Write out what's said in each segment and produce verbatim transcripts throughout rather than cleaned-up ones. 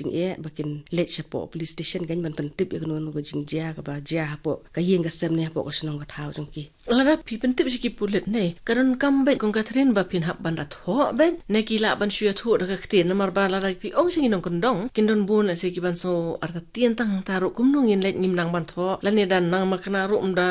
jingeh ba kin leit shapoh police station kan ban pyntip ïa kano kano ka jingjia kaba jia hapoh ka ïing ka sem ne hapoh ka shnong ka thaw jong ki. Lada phi pyntip sha ki pulit ne ka donkam beit kong Catherine ba phin hap ban da thoh beit ne ki lah ban shu ïathuh da ka ktien, namar ba lada phi ong sha ngi nongkyndong kin don bun lehse ki ban sngew artatien tang hangta ruh kumno ngin leit ngim nang ban thoh lane da nang makna ruh ym da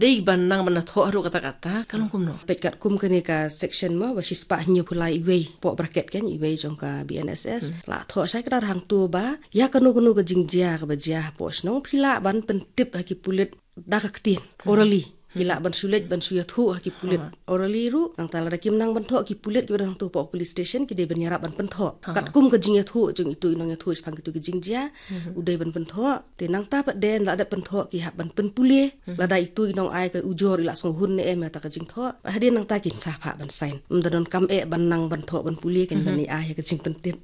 dei ban nang ban da thoh ruh kata kata ka long kumno. Peit katkum kane ka section mo ba shispah hynñiewphew lai iwei poh bracket kan iwei jong ka B N S S. La thoh shai kdar hangto ba ïa kano kano ka jingjia kaba jia hapoh shnong phi lah ban pyntip ha ki pulit da ka ktien, orally. Ki lah ban shu leit ban shu ïathuh ha ki pulit orally ruh. Nangta lada kim nang ban thoh ki pulit kiba don hangto hapoh police station ki dei ban ïarap ban pynthoh katkum ka jingïathuh jong itu i nongïathuh shaphang kitu ki jingjia. U dei ban pynthoh. Te nangta pat de la dep pynthoh ki hap ban pynpule lada itu i nongai ka ujor i la sngewhun ne em ïa kata ka jingthoh. Hadien nangta kin sa phah ban sign. Ym da donkam eh ban nang ban thoh ban pule kan ban ai ïa ka jingpyntip.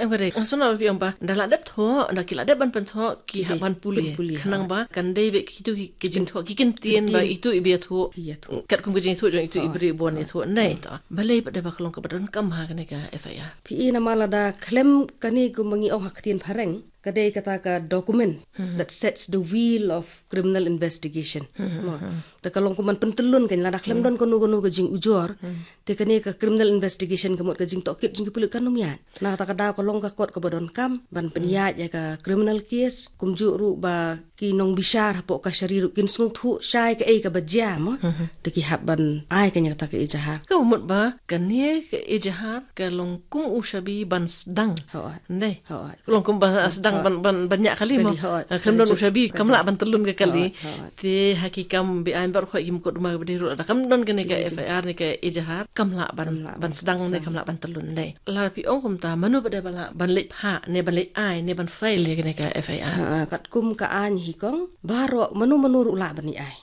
Em ka dei nga sngewbha phi ong ba da la dep thoh da ki la dep ban pynthoh ki hap ban pule. Khnang ba kan dei beit kitu ki jingthoh ki kyntien ba itu i ba ïathuh. Katkum ka jingïathuh jong itu i briew ba wan ïathuh nai to. Balei pat da ba ka long kaba donkam ha kane ka F I R. Phi i namar lada khlem kane kumba ngi ong ha ktien phareng ka dei kata ka document that sets the wheel of criminal investigation. Mo. Te ka long kum ban pyntyllun kan lada khlem don kano kano ka jingujor. Te kane ka criminal investigation ka mut ka jingtohkit jong ki pulit kan ym ïaid. Na kata ka daw ka long ka kot kaba donkam ban pynïaid ïa ka criminal case kumjuh ruh ba ki nongbishar hapoh kashari ruh kin sngewthuh shai kaei kaba jia mo. Te ki hap ban ai kane kata ka ejahar. Ka mut ba kane ka ejahar ka long kum u shabi ban sdang. Hooid. Ndei. Hooid. Ka long kum ba sdang ban ban ban ñiah kali mo. Kali, hooid. Khlem don u shabi kam lah ban tyllun ka kali. Hooid, hooid. Te ha ki kam beaiñ baroh ki mukotduma kaba dei ruh lada kam don kane ka F I R ne ka ejahar kam lah ban ban sdang ne kam lah ban tyllun ndei. Lada phi ong kumta mano ba dei ba lah ban leit phah ne ban leit ai ne ban file ïa kane ka F I R. Ha, katkum ka aiñ hi kong baroh mano mano ruh lah ban ïai.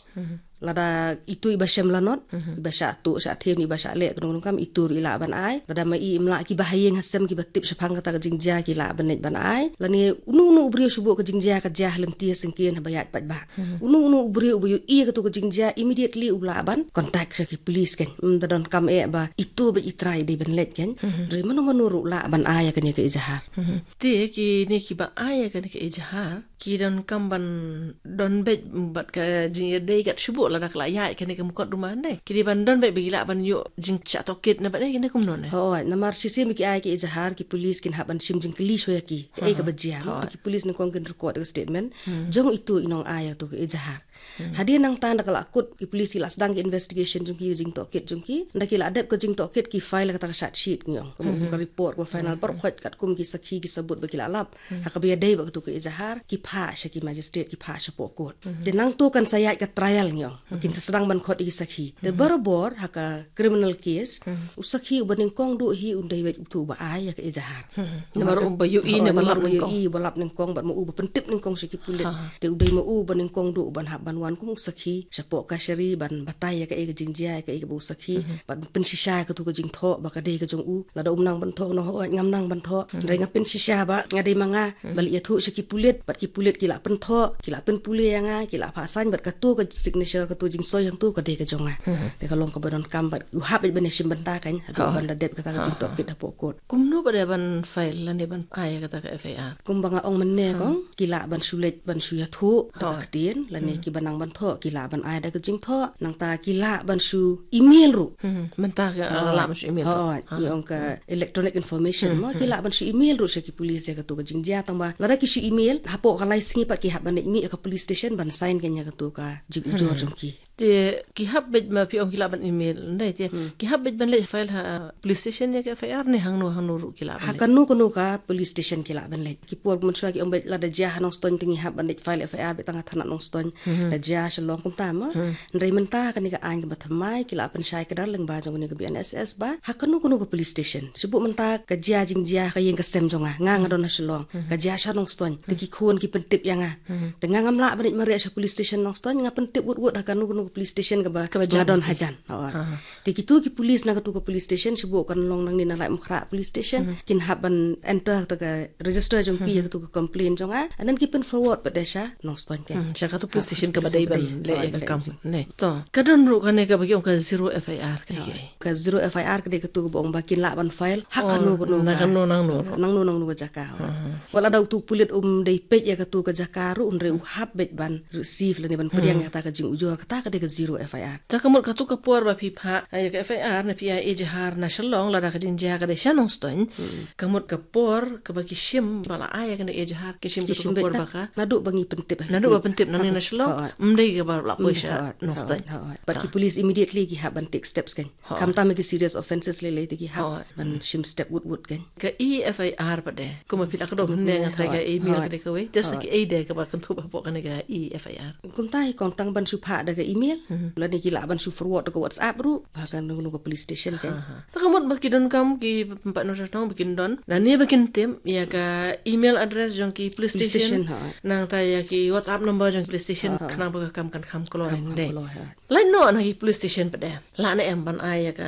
Lada itu i ba shem lanot, i ba shah tuh shah them, i ba shah leh kano kano kam itu ruh i lah ban ai. Lada ma i im lah ki ba ha ïing ha sem ki ba tip shaphang kata ka jingjia ki lah ban leit ban ai. Lane unu unu u briew shu buh ka jingjia ka jia ha lynti ha syngkien ha ba ïaid paidbah. Unu unu u briew u ba ïohi ïa katu ka jingjia immediately u lah ban contact sha ki police kan. Ym da donkam eh ba itu beit i trai dei ban leit kan. Hynrei mano mano ruh lah ban ai ïa kane ka ejahar. Te kine ki ba ai ïa kane ka ejahar ki donkam ban don beit bad ka jingïadei kat shu buh lada ka la ïaid kane ka mukotduma ndei. Ki dei ban don beit ba ki lah ban ïoh jingshah tohkit na bad ne kine kumno ne. Hooid, namar shisien ba ki ai ka ejahar ki police kin hap ban shim jingkylli shuwa ïa ki. Kaei kaba jia mo. Te ki police nyngkong kin record ka statement jong itu i nongai ïa katu ka ejahar. Hadien nangta nda ka la kut ki police ki la sdang ki investigation jong ki jingtohkit jong ki. Nda ki la dep ka jingtohkit ki file kata ka charge sheet ngi ong. Ka mut ka report ka final baroh khoit katkum ki sakhi ki sabut ba ki la lap. Ha kaba ïadei bad katu ka ejahar ki phah sha ki magistrate ki phah shapoh court. Te nangto kan sa ïaid ka trial ngi ong. Kin sa sdang ban khot ïa ki sakhi. Te barabor ha ka criminal case u sakhi u ba nyngkong duh hi un dei beit utu u ba ai ïa ka ejahar. Namar u ba ïohi ne ba lap nyngkong. Ïohi ba lap nyngkong bad ma u ba pyntip nyngkong sha ki pulit. Te u dei ma u ba nyngkong duh u ban hap ban wan kum u sakhi shapoh kashari ban batai ïa kaei ka jingjia ïa kaei kaba u sakhi. Bad pynshisha ïa katu ka jingthoh ba ka dei ka jong u. Lada um nang ban thoh nong hooid ngam nang ban thoh. Hynrei nga pynshisha ba nga dei ma nga ba leit ïathuh sha ki pulit bad ki pulit ki la pynthoh ki la pynpule ïa nga ki la phah sign bad katu ka signature katu jingsoi hangtu ka dei ka jong nga. Te ka long kaba donkam bad u hap beit ban ïashim bynta kan haduh ban da dep kata ka jingtohkit hapoh court. Kumno ba dei ban file lane ban ai ïa kata ka F I R. Kumba nga ong mynne kong ki lah ban shu leit ban shu ïathuh da ka ktien lane ki ba nang ban thoh ki lah ban ai da ka jingthoh nangta ki lah ban shu email ruh. Mynta ka lah ban shu email ruh. Hooid, ngi ong ka electronic information mo ki lah ban shu email ruh sha ki police ïa katu ka jingjia tang ba lada ki shu email hapoh ka lai sngi pat ki hap ban leit mih ïa ka police station ban sign kan ïa katu ka jingujor jong ki. Te ki hap beit ma phi ong ki lah ban email ndei te ki hap beit ban leit file ha police station ïa ka F I R ne hangno hangno ruh ki lah ban leit. Ha kano kano ka police station ki lah ban leit. Ki por mynshuwa ki ong beit lada jia ha Nongstoiñ te ngi hap ban leit file F I R beit tang ha thanat Nongstoiñ. Da jia Shillong kumta mo. Hynrei mynta kane ka aiñ kaba thymmai ki la pynshai kdar lyngba jong kane ka B N S S ba ha kano kano ka police station. Shu buh mynta ka jia jingjia ha ka ïing ka sem jong nga nga nga don ha Shillong ka jia sha Nongstoiñ te ki khun ki pyntip ïa nga. Te nga ngam lah ban leit mareh sha police station Nongstoiñ nga pyntip wut wut ha kano kano Police station kaba, kaba jan, nga don hajan. Te kitu ki police na katu ka police station, shibun kan long nangne na Laitumkhrah police station, kin hap ban enter katu ka register jong ki ïa katu ka complaint jong nga, and then ki pyn forward pat de sha Nongstoiñ ka. Hmm, sha katu police station kaba dei ban leh ïa ka kam. Ne. To, ka don ruh kane kaba ki ong ka zero F I R ka dei. Ka zero F I R ka dei katu kaba ong ba kin lah ban file ha kano kano, na kano nangno, nangno nangno ka jaka. Wat lada utu pulit um dei peit ïa katu ka jaka ruh, hynrei u hap beit ban receive lane ban pdiang ïa kata ka jingujor, kata ka dei ka zero F I R. Ta ka mut katu ka por ba phi phah ïa ka F I R ne phi ai ejahar na Shillong lada ka jingjia ka dei sha Nongstoiñ, ka mut ka por kaba ki shim ba la ai ïa kane ka ejahar, ki shim katu ka por ba ka, naduh ba ngi pyntip, naduh ba pyntip nangne na Shillong, ym dei kaba la poi sha Nongstoiñ. But ki police immediately ki hap ban take steps kan. Khamtam ki serious offences lei lei te ki hap ban shim step wut wut kan. Ka E F I R pat de, kumba phi la kdew mynne nga tharai ka email ka dei kawei. Te sa kiei de kaba kynthup hapoh kane ka E F I R? Kumta hi kong, tang ban shu phah da ka email, lane ki lah ban shu forward da ka WhatsApp ruh ha kano kano ka police station kan. Ta ka mut ba ki donkam ki paidbah Nongstoiñ ba kin don lane ba kin tip ïa ka email address jong ki police station, nangta ïa ki WhatsApp number jong ki police station, khnang ba ka kam kan kham kloi. Lait noh na ki police station pat de, lah ne em ban ai ïa ka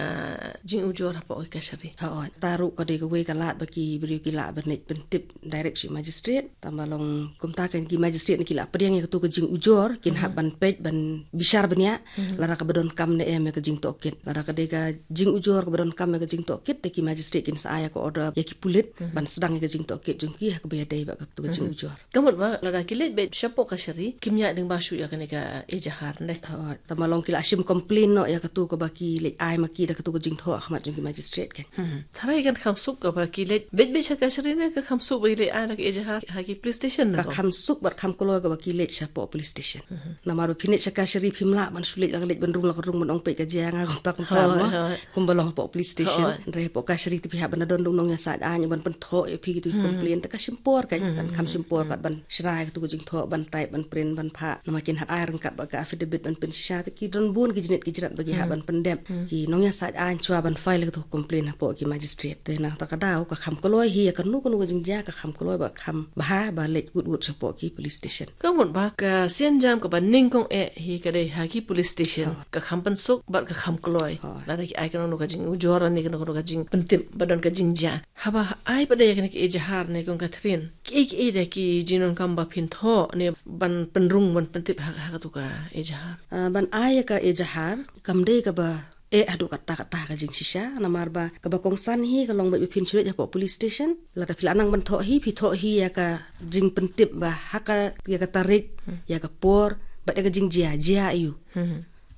jingujor hapoh ki kashari? Hooid, ta ruh ka dei kawei ka lad ba ki briew ki lah ban leit pyntip direct sha magistrate. Tangba long kumta kan, ki magistrate ne ki lah pdiang ïa katu ka jingujor, kin hap ban peit, ban bishar bniah lada kaba donkam ne em ïa ka jingtohkit. Lada ka dei ka jingujor kaba donkam ïa ka jingtohkit, te ki magistrate kin sa ai ïa ka order ïa ki pulit ban sdang ïa ka jingtohkit jong ki ha kaba ïadei bad katu ka jingujor. Ka mut ba lada ki leit beit shapoh kashari, kim ïaid lyngba shuh ïa kane ka ejahar ne? Hooid, tangba long ki lah shim complaint noh ïa katu kaba ki leit ai ma ki da katu ka jingthoh ha khmat jong ki magistrate kan. Tharai kan kham suk kaba ki leit beit beit sha kashari ne ka kham suk ba ki leit ai da ka ejahar ha ki police station ne? Ka kham suk bad kham kloi kaba ki leit shapoh police station. Namar ba phin leit sha kashari phim lah ban shu leit la ka leit ban rung la ka rung ban ong peit ka jia nga kumta kumta mo. Kumba long hapoh police station. Hynrei hapoh kashari te phi hap ban don nongïasaid aiñ ban pynthoh ïa phi kitu ki complaint, te ka shim por kan, kan kham shim por kat ban shna ïa katu ka jingthoh, ban type, ban print, ban phah. Namar kin hap ai ryngkat bad ka affidavit ban pynshisha, te ki don bun ki jingit ki jingrat ba ki hap ban pyndep. Ki nongïasaid aiñ shuwa ban file ïa katu ka complaint hapoh ki magistrate. Te nangta ka daw ka kham kloi hi ïa kano kano ka jingjia, ka kham kloi bad kham bha ba leit wut wut shapoh ki police station. Ka mut ba ka sienjam kaba nyngkong eh hi ka dei ha ki police station, ka kham pynsuk bad ka kham kloi. Lada ki ai kano kano ka jingujor ne kano kano ka jingpyntip ba don ka jingjia. Haba ai pat de ïa kane ka ejahar ne kong Catherine, kiei kiei de ki jingdonkam ba phin thoh ne ban pynrung ban pyntip ha, ha katu ka ejahar? Ah, ban ai ïa ka ejahar kam dei kaba eh haduh katta katta ka jingshisha, namar ba kaba kongsan hi ka long beit ba phin shu leit hapoh police station. Lada phi la nang ban thoh hi, phi thoh hi ïa ka jingpyntip ba ha ka, ïa ka tarik, ïa ka por bad ïa ka jingjia, jia aiu,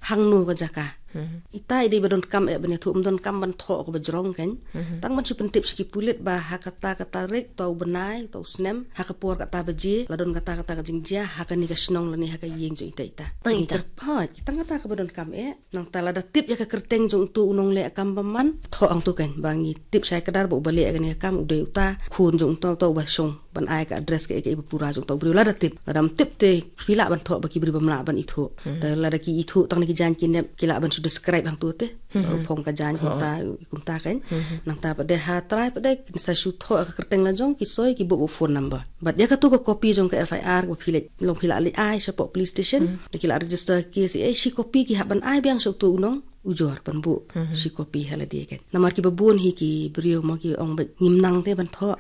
hangno ka jaka. Ita i dei ba donkam eh ban ïathuh, ym donkam ban thoh kaba jrong kan. Tang ban shu pyntip sha ki pulit ba ha kata ka tarik, uta u bnai, uta u snem, ha ka por kata baje la don kata kata ka jingjia ha kane ka shnong lane ha ka ïing jong ita ita. Tang ita. Hooid, tang kata kaba donkam eh. Nangta lada tip ïa ka kyrteng jong utu u nongleh kam bymman, thoh hangtu kan, ba ngi tip shai kdar ba uba leh ïa kane ka kam u dei uta, khun jong uta, uta uba shong, ban ai ka address kaei kaei ba pura jong uta u briew. Lada tip, lada ym tip te phi lah ban thoh ba ki briew bym lah ban ithuh. Te lada ki ithuh tang na ki jaiñ ki nep, ki lah ban shu describe hangtu te. Ba u phong ka jaiñ kumta, kumta kan. Nangta pat de ha trai pat de kin sa shu thoh ka kyrteng la jong, ki soi ki buh buh phone number. Bad ïa katu ka copy jong ka F I R ba phi leit, long phi lah leit ai shapoh police station, da ki lah register case, eh, shi copy ki hap ban ai biang sha utu u nongujor ban buh shi copy ha lade kan. Namar kiba bun hi ki briew mo ki ong ba ngim nang te ban thoh.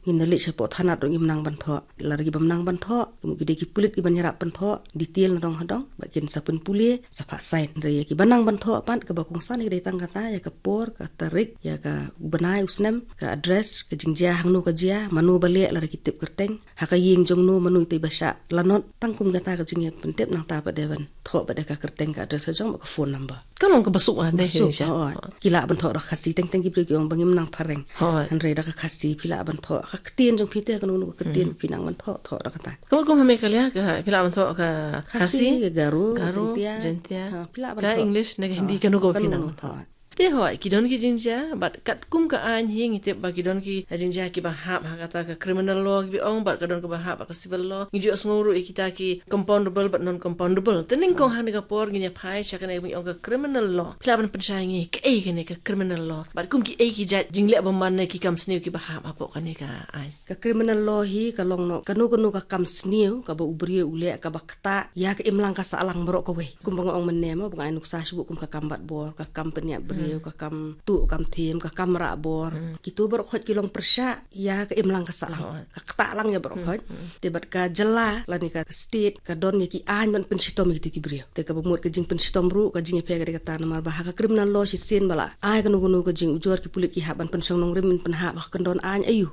Ngin da leit shapoh thanat ruh ngim nang ban thoh. Lada ki bym nang ban thoh, ki dei ki pulit ki ban ïarap ban thoh detail nadong hadong, ba kin sa pynpule, sa phah sign. Hynrei ïa ki ba nang ban thoh pat, kaba kongsan ïa ka dei tang kata, ïa ka por, ka tarik, ïa ka u bnai u snem, ka address, ka jingjia hangno ka jia, mano ba leh, lada ki tip kyrteng, ha ka ïing jong no mano ita i ba shah lanot. Tang kum kata ka jingïapyntip, nangta pat de ban thoh pat de ka kyrteng, ka address ka jong bad ka phone number. Ka long kaba suk ah, ne, suk, hooid. Ki lah ban thoh da ka Khasi, teng teng ki briew ki ong ba ngim nang phareng. Hooid. Hynrei da ka Khasi phi lah ban thoh ka ktien jong phi te, kano kano ka ktien phi nang ban thoh, thoh da kata. Ka mut kum ha Meghalaya ka phi lah ban thoh ka Khasi, Khasi, ka Garo, Garo, Jaintia, Jaintia, ha, phi lah ban thoh ka English ne ka Hindi, kano kano phi nang ban thoh. Hooid. Te hoi, ki don ki jingjia, bad katkum ka aiñ hi ngi tip ba ki don ki jingjia kiba hap ha kata ka criminal law kiba ong, bad ka don kaba hap ha ka civil law. Ngi ju sngew ruh ïa kita ki compoundable bad non-compoundable. Te nyngkong ha kane ka por ngin ïa phai sha kane ba ngi ong ka criminal law. Phi lah ban pynshai ngi kaei kane ka criminal law, bad kum kiei ki jait jingleh bymman ne ki kam sniew kiba hap hapoh kane ka aiñ. Ka criminal law hi ka long noh kano kano ka kam sniew kaba u briew u leh kaba ktah ïa ka imlang ka sahlang baroh kawei. Kumba nga ong mynne mo, ba nga ai nuksa shuh kum ka kam bat bor, ka kam pynïap briew, ka kam tuh kam thiem, ka kam rah bor. Kito baroh khoit ki long pyrshah ïa ka imlang ka sahlang. Ka ktah lang ïa baroh khoit. Te bad ka jylla lane ka state ka don ïa ki aiñ ban pynshitom ïa kito ki briew. Te kaba mut ka jingpynshitom ruh ka jingïapher ka dei kata, namar ba ha ka criminal law shisien ba la ai kano kano ka jingujor, ki pulit ki hap ban pynshong nongrim, ban pynhap ha ka kyndon aiñ aiu.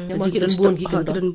Namar ki don bun ki kyndon.